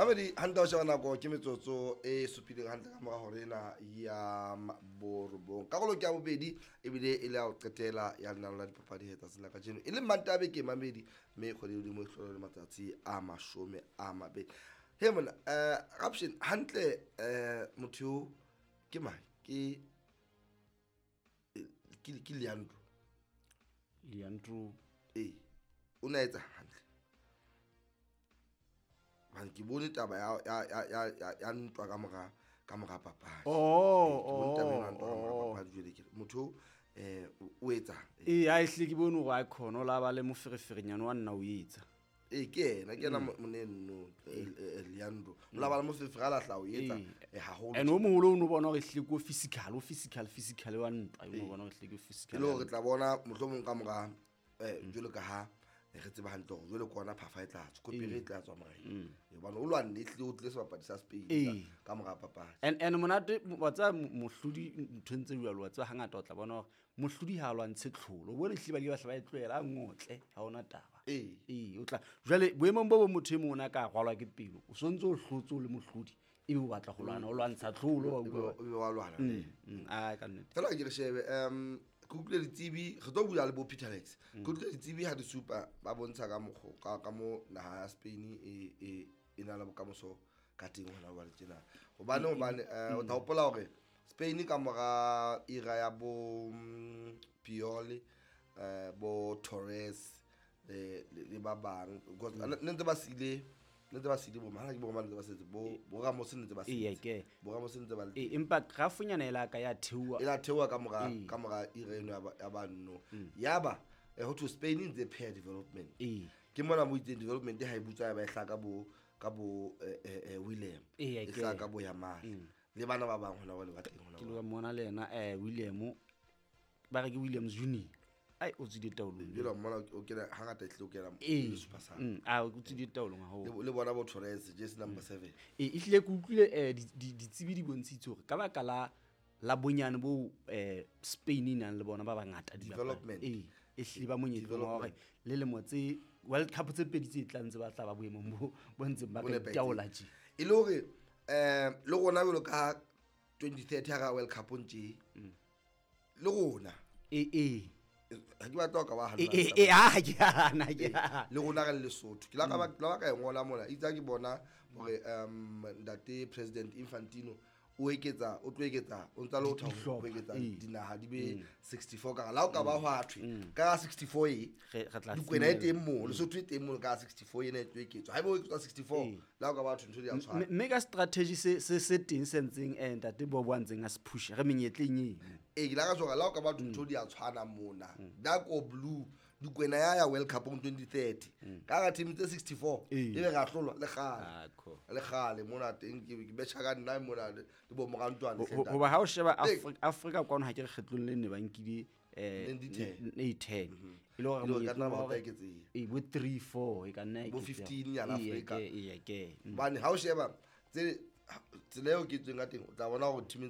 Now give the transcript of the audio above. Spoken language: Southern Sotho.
Mamedi hantle, o sheba nako ke metsotso e supileng hantle ka mora hore ena ya 9. Karolo ke ya bobedi, ebile e le ya ho qetela ya lenaneo la dipapadi he tsatsing la kajeno, e leng Mantaha beke, mamedi, mme kgwedi hodimo e hlole le matsatsi a 20. He mona, Raption, hantle, motho eo ke mang? Ke Leandro. Leandro. Ee, o ne a etsa hantle. Hobane ke bone taba ya ntwa ka mora papadi. Ke bone taba ena ya ntwa ka mora papadi. Jwale ke re, motho o etsang? Ee, a ehlile ke bone hore a khona o la ba le mofereferenyane wa nna o etsa. Ee, ke yena moneno, Leandro, o la ba le moferefere a lahla o etsa haholo. And o moholo o no bona hore ehlile ke o physical, o physical, physical wa ntwa, o no bona hore ehlile ke o E physical. le hore re tla bona mohlomong ka mora, jwalo ka ha re tseba hantle hore jwale ke ona phafa e tla tswa, kopere e tla tswa morena, hobane o lwanne, ehlile o tlile sebapadi sa Spain ka mora papadi. And monate wa tseba, mohlodi nthong tse jwalo, wa tseba, hangata o tla bona hore mohlodi ha a lwantshe tlholo. O bone ehlile ba ile ba hla ba e tlohela, a ngotle, ha ona taba. Ee, o tla jwale boemong bo bong, motho e mong o ne a ka rwalwa ke pelo, o sontse o hlotse, o le mohlodi, ebe o batla ho lwana, o lwantsha tlholo, wa utlwa? Ebe wa lwana le yena. A ka nnete. Fela ke re shebe, ke utlwile ditsebi, re tlo bula le bo Peter Lex. Ke utlwile ditsebi ha di supa, ba bontsha ka mokgo ka mo naha ya Spain e na le bokamoso ka teng hona jwale tjena, hobane o tla hopola hore Spain ka mora era ya bo Puyol, bo Torres le ba bang, because ne ntse ba sile bo mana, ke bo mang, ne ntse ba setse bo Ramos, ne ntse ba setse bo Ramos, ne ntse ba le Ee, empa grafonyana e la ka ya theoha. E la theoha ka mora era eno ya banno, yaba ho thwe Spain e ntse pheha development. Ke mona mo itseng development ha e butswa, ya ba e hlaha ka bo William, e hlaha ka bo Yamal le bana ba bang hona jwale ba teng hona Ke jwale. lo mona le yena, William, ba re ke Williams Junior, ai, o tswile taolong. Jwale mona o kena hangata, ehlile o kena le super sub. A o tswile taolong haholo. Le bona bo Torres, jersey number 7. Ee, ehlile ke utlwile ditsebi di bontshitse hore ka baka la bonyane bo Spain e nang le bona ba bangata Development. Ee, ehlile ba monyetleng wa hore Development. le lemo tse World Cup tse pedi tse tlang, tse ba tla ba boemong bo ntseng ba Bo ka nepahetseng. itaola tje. E le hore le rona jwalo ka 2030 ha ra World Cup ntje le rona, Ee. ha ke batla ho ka ba Ee. hanna. Ee, ah, ke hana, ke hana. Le rona re le Lesotho, ke la ka la ka e ngola mona itse ha ke bona hore ntate President Infantino o eketsa, o tlo eketsa, o ntsa le ho thabo Dihlopha, ho eketsa dinaha di be 64. Ka la o ka ba hwa thwe ka 64 e Re tla Dikwena e finyella. teng mo, Lesotho e teng mo ka 64 ena e tlo eketswa. Haeba o eketswa 64, la o ka ba thwe ntho di a tshwana. Mme ka strategy se teng se ntseng, ntate Bobo a ntseng a se pusha, re menyetleng eno. Ee, ke la ka tshwara la o ka ba ntho di a tshwana mona, dark or blue, Dikwena ya World Cup 2030 ka ga team tse 64, ebe re a hlolwa le kgale. Ah, cool. Le kgale mona teng ke betjha ka nna mona le bo morantwane. Hoba ha o sheba Afrika kwano, ha ke re kgetlong le ne ba nkile 2010. 10 e le hore E le hore ka monyetleng nna wa ba hore eketseha. Ee, bo 3 4 e ka nna Bo eketseha. 15 nyana Ee, Afrika. Ee, ke. Hobane ha o sheba tsela eo ke tsweng ka teng, o tla bona hore teameng tsa